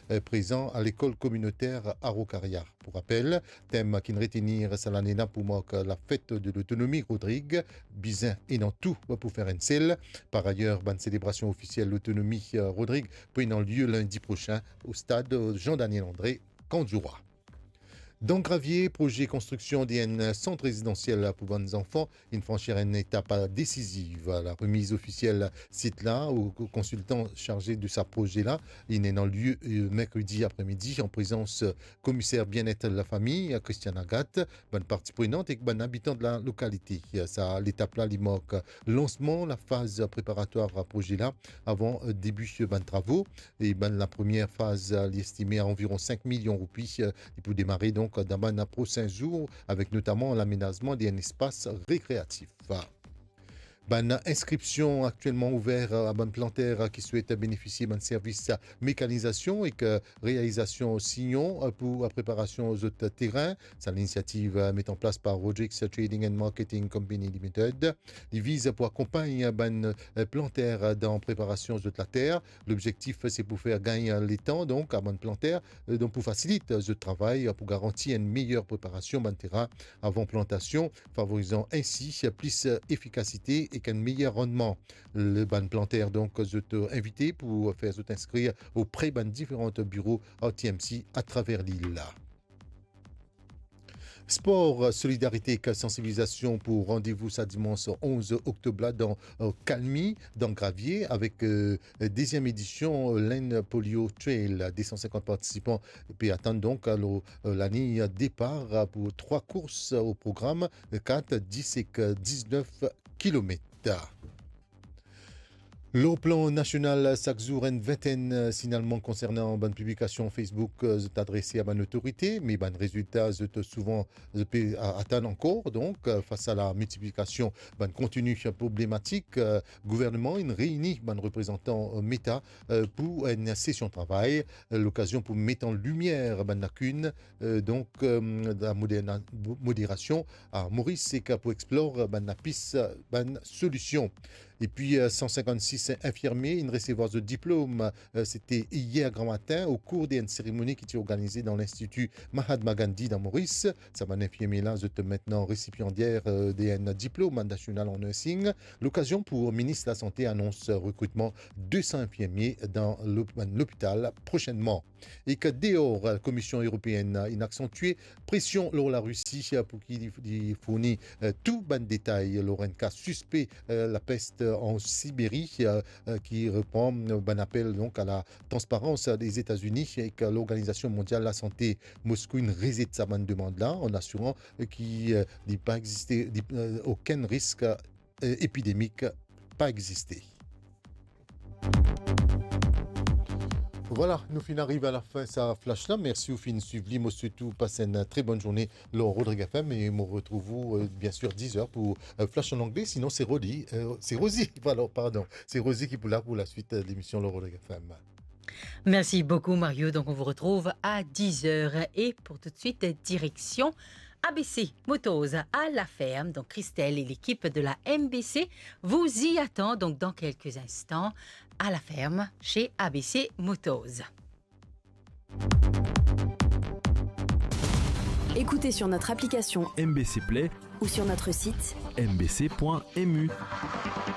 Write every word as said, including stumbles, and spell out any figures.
eh, prezan a lekol kominoter Araucaria. Pou rapel, tem ki'nn retenir sa lane la pou mark lafet de lotonomi Rodrig, bizin ena tou pou fer enn sel. Par ayer, bann selebrasion ofisiel lotonomi, eh, Rodrig pou ena lie lindi prosin o stad, eh, Jean-Daniel André, Kandzoura. Dan Gravie, proze konstriksion de enn sant rezidansiel pou bann zanfan inn fransi enn etap desiziv. La remiz ofisiel sit la o konsiltan sarze de sa proze la inn ena lie, eh, merkredi apremidi an prezans, eh, komiser bienet lafami, eh, Christiane Agathe, bann parti prenant ek bann abitan de la lokalite. Sa letap la, li mark lansman lafaz preparatwar proze la avan, eh, debi bann travo. E bann lapremier faz, eh, li estime a anviron sink milion roupi, eh, li pou demare donk dan bann prosin zour, avek notaman lamenazman de enn espas rekreatif. Bann inskripsion aktielman ouver, eh, a bann planter, eh, ki swet benefisie bann servis, eh, mekanizasion ek, eh, realizasion sinion, eh, pou, eh, preparasion zot terin. Sa linisiativ, eh, met an plas par Rodrigues Trading and Marketing Company Limited. Li viz pou akonpagn bann, eh, planter dan preparasion zot later. Lobzektif, se pou fer gagn letan, donk, a bann planter, eh, donk pou fasilit zot travay, pou garanti enn meyer preparasion bann terin avan plantasion, favorizan ensi plis efikasite ek enn meyer randman. Le bann planter, donk, zot invite pou fer zot inskrir opre bann diferan biro R T M C atraver lil la. Spor, solidarite ek sansibilizasion pou randevou sa dimans onz oktob la dan, eh, Kalmi, dan Gravie, avek, eh, deziem edision, eh, Lane Polio Trail. De san sinkant partisipan pe atann donk, alor, eh, lane depar, eh, pou trwa kours o program, eh, kat, dis ek, eh, diznef kilomet. Lor plan nasional, sak zour enn vintenn, eh, signalman konsernan bann piblikasion Facebook, eh, zot adrese a bann otorite, me bann rezilta zot souvan, zot pe a-, atann ankor. Donk, eh, fas a la miltiplikasion bann kontini problematik, eh, gouvernman inn reyni bann reprezantan, eh, Meta, eh, pou enn sesion travay, eh, lokazion pou met an limier bann lakinn, eh, donk, eh, la moderna-, moderasion a Moris ek pou explor bann lapis, bann solision. Epi, eh, san sinkant-sis infirmie inn resevwar zot diplom, eh, sete yer gramatin, o kour de enn seremoni ki ti organize dan Linstiti Mahatma Gandhi dan Moris. Sa bann infirmie la, zot mintnan resipiandier, eh, de enn diplom nasional an nursing. Lokazion pou minis lasante anons rekritman de san infirmie dan lop-, bann lopital prosinman. Ek deor, Komisyon Eropeenn inn aksantie presion lor Larisi pou ki li, li fourni, eh, tou bann detay lor enn ka sispe, eh, lapest an Siberi, eh, eh, ki repran, eh, bann apel donk a la transparans Lezetazni ek Lorganizasion Mondial Lasante. Moskou inn rezet sa bann demann la an asiran, eh, ki, eh, li pa existe, li, eh, okenn risk, eh, epidemik pa existe. Vwala, nou finn ariv a lafin sa flash la. Mersi ou finn swiv li. Mo swet ou pas enn tre bonn zourne lor Rodrig F M e mo retrouv ou, eh, bien sir, diz er pou, eh, flash an angle. Sinon, se Rodi, eh, se Rozi, vwala, pardon. Se Rozi ki pou la pou laswit, eh, lemision lor Rodrig F M. Merci beaucoup, Mario. Donc, on vous retrouve à dix heures. Et pour tout de suite, direction A B C Motors à La Ferme. Donc, Christelle et l'équipe de la M B C vous y attend. Donc, dans quelques instants, à La Ferme, chez A B C Motors. Écoutez sur notre application M B C Play ou sur notre site M B C point M U.